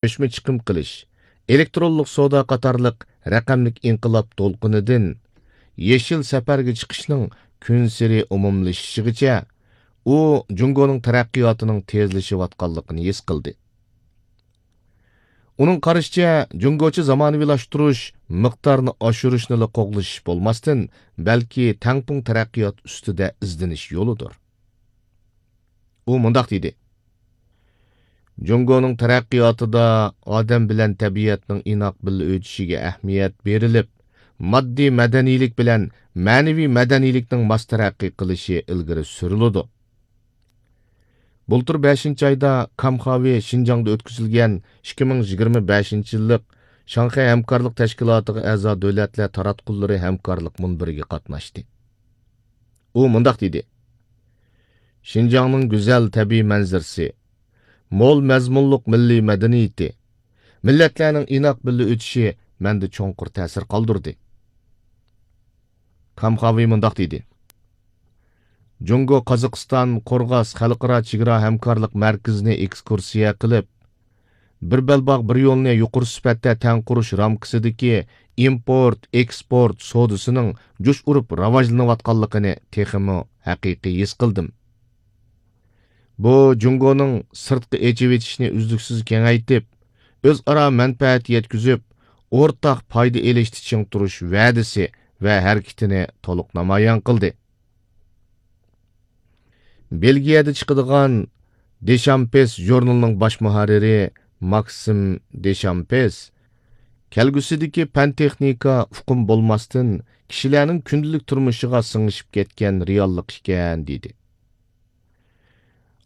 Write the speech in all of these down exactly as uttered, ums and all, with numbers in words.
كۆچمە چىقىم قىلىش، ئېلېكترونلۇق سودا قاتارلىق رەقەملىك ئىنقىلاب دولقۇنىدىن يېشىل سەپەرگە چىقىشنىڭ كۈنسېرى ئومۇملىشىشىغىچە، ئۇ جۇڭگونىڭ تەرەققىياتىنىڭ تېزلىشىۋاتقانلىقىنى ھېس قىلدى. ئۇنىڭ قارىشىچە، جۇڭگوچە زامانىۋىلاشتۇرۇش مىقدارىنى ئاشۇرۇشنىلا قوغلىشىش بولماستىن، بەلكى تەڭپۇڭ تەرەققىيات ئۈستىدە ئىزدىنىش يولىدۇر. ئۇ مۇنداق دېدى: جۇڭگونىڭ تەرەققىياتىدا ئادەم بىلەن تەبىئەتنىڭ ئىناق بىللە ئۆتۈشىگە ئەھمىيەت بېرىلىپ، ماددىي مەدەنىيلىك بىلەن مەنىۋى مەدەنىيلىكنىڭ ماس تەرەققىي قىلىشى ئىلگىرى سۈرۈلىدۇ. بۇلتۇر بەشىنچى ئايدا كامخاۋى شىنجاڭدا ئۆتكۈزۈلگەن ئىككى مىڭ يىگىرمە بەشىنچى يىللىق شاڭخەي ھەمكارلىق تەشكىلاتىغا ئەزا دۆلەتلەر تاراتقۇلىرى ھەمكارلىق مۇنبىرىگە قاتناشتى. ئۇ مۇنداق دېدى: شىنجاڭنىڭ گۈزەل تەبىئىي مەنزىرىسى، مول مەزمۇنلۇق مىللىي مەدەنىيىتى، مىللەتلەرنىڭ ئىناق بىللە ئۆتۈشى مەندە چوڭقۇر تەسىر قالدۇردى. كامخاۋى مۇنداق دېدى: جۇڭگو قازاقىستان قورغاس خەلقئارا چېگرا ھەمكارلىق مەركىزىنى ئېكسكۇرسىيە قىلىپ، بىر بەلباغ بىر يولنى يۇقىرى سۈپەتتە تەڭ قۇرۇش رامكىسىدىكى ئىمپورت، ئېكسپورت سودىسىنىڭ جۇش ئۇرۇپ راۋاجلىنىۋاتقانلىقىنى تېخىمۇ ھەقىقىي ھېس قىلدىم. بۇ جۇڭگونىڭ سىرتقا ئېچىۋېتىشنى ئۈزلۈكسىز كېڭەيتىپ، ئۆزئارا مەنپەئەت يەتكۈزۈپ، ئورتاق پايدا ئېلىشتا چىڭ تۇرۇش ۋەدىسى ۋە ھەرىكىتىنى تولۇق نامايان قىلدى. بېلگىيەدە چىقىدىغان دېشامپېس ژۇرنىلىنىڭ باش مۇھەررىرى ماكسىم دېشامپېس كەلگۈسىدىكى پەن-تېخنىكا ئۇقۇم بولماستىن، كىشىلەرنىڭ كۈندىلىك تۇرمۇشىغا سىڭىشىپ كەتكەن رېئاللىق ئىكەن، دېدى.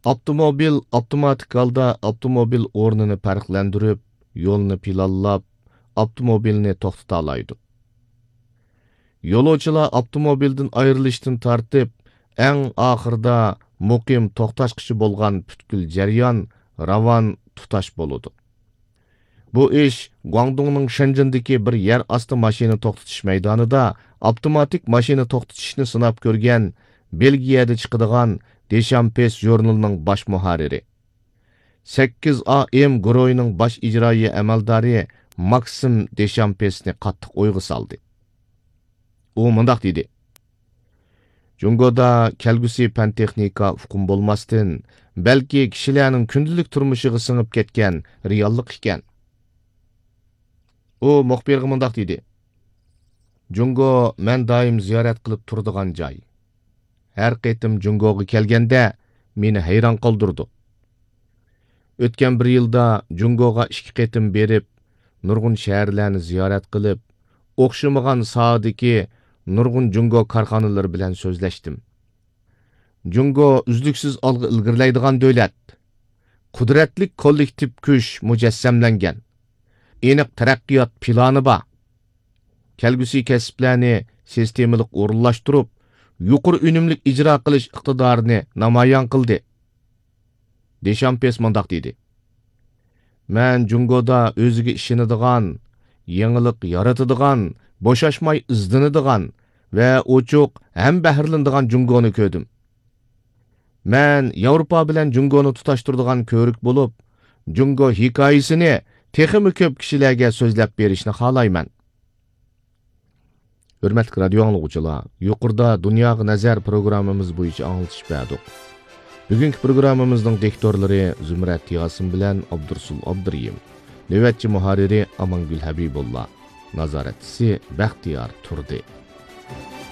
ئاپتوموبىل ئاپتوماتىك ھالدا ئاپتوموبىل ئورنىنى پەرقلەندۈرۈپ، يولنى پىلانلاپ، ئاپتوموبىلنى توختىتالايدۇ. يولۇچىلار ئاپتوموبىلدىن ئايرىلىشتىن تارتىپ، ئەڭ ئاخىرىدا مۇقىم توختاشقىچە بولغان پۈتكۈل جەريان راۋان، تۇتاش بولىدۇ. بۇ ئىش گۇاڭدۇڭنىڭ شېنجېندىكى بىر يەر ئاستى ماشىنا توختىتىش مەيدانىدا ئاپتوماتىك ماشىنا توختىتىشنى سىناپ كۆرگەن بېلگىيەدە چىقىدىغان دېشامپېس ژۇرنىلىنىڭ باش مۇھەررىرى، سەككىز ئا ئېم گۇرۇھىنىڭ باش ئىجرائىيە ئەمەلدارى ماكسىم دېشامپېسنى قاتتىق ئويغا سالدى. ئۇ مۇنداق دېدى: جۇڭگودا كەلگۈسى پەن-تېخنىكا ئۇقۇم بولماستىن، بەلكى كىشىلەرنىڭ كۈندىلىك تۇرمۇشىغا سىڭىپ كەتكەن رېئاللىق ئىكەن. ئۇ مۇخبىرغا مۇنداق دېدى: جۇڭگو مەن دائىم زىيارەت قىلىپ تۇرىدىغان جاي. ھەر قېتىم جۇڭگوغا كەلگەندە مېنى ھەيران قالدۇرىدۇ. ئۆتكەن بىر يىلدا جۇڭگوغا ئىككى قېتىم بېرىپ، نۇرغۇن شەھەرلەرنى زىيارەت قىلىپ، ئوخشىمىغان ساھەدىكى نۇرغۇن جۇڭگو كارخانىلىرى بىلەن سۆزلەشتىم. جۇڭگو ئۈزلۈكسىز ئالغا ئىلگىرىلەيدىغان دۆلەت. قۇدرەتلىك كوللېكتىپ كۈچ مۇجەسسەملەنگەن. ئېنىق تەرەققىيات پىلانى بار. كەلگۈسى كەسىپلەرنى سىستېمىلىق ئورۇنلاشتۇرۇپ، يۇقىرى ئۈنۈملۈك ئىجرا قىلىش ئىقتىدارىنى نامايان قىلدى. دېشامپېس مۇنداق دېدى: مەن جۇڭگودا ئۆزىگە ئىشىنىدىغان، يېڭىلىق يارىتىدىغان، بوشاشماي ئىزدىنىدىغان ۋە ئوچۇق ھەم بەھرىلىنىدىغان جۇڭگونى كۆردۈم. مەن ياۋروپا بىلەن جۇڭگونى تۇتاشتۇرىدىغان كۆۋرۈك بولۇپ، جۇڭگو ھېكايىسىنى تېخىمۇ كۆپ كىشىلەرگە سۆزلەپ بېرىشنى خالايمەن. ھۆرمەتلىك رادىيو ئاڭلىغۇچىلار، يۇقىرىدا دۇنياغا نەزەر پروگراممىمىز بويىچە ئاڭلىتىش بەردۇق. بۈگۈنكى پروگراممىمىزنىڭ دىكتورلىرى زۇمرەت ياسىن بىلەن ئابدۇرۇسۇل ئابدۇرېھىم. نۆۋەتچى مۇھەررىرى ئامانگۈل ھەبىبۇللا. نازارەتچىسى بەختىيار تۇردى.